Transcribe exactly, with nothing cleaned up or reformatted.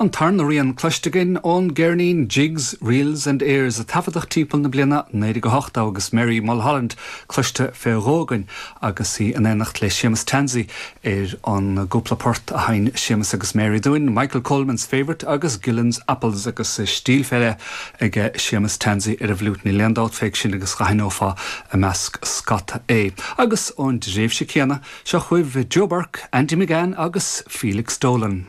An tarna rian cloiste againn ón gceirnín Jigs, Reels and Airs a taifeadadh timpeall na bliana naoi déag a hocht agus Mary Mulholland cloiste fé dhó againn agus í in éineacht le Séamus Tansey ar an gcúpla port a sheinn Séamus agus Mary dúinn, Michael Coleman's Favourite agus Gillen's Apples agus stíl fé leith ag Séamus Tansey ar an bhfliúit níl aon dabht fé sin agus d'aithneofá i measc scata é. Agus ón dtréimhse céanna seo chugaibh Joe Burke, Andy McGann agus Felix Dolan.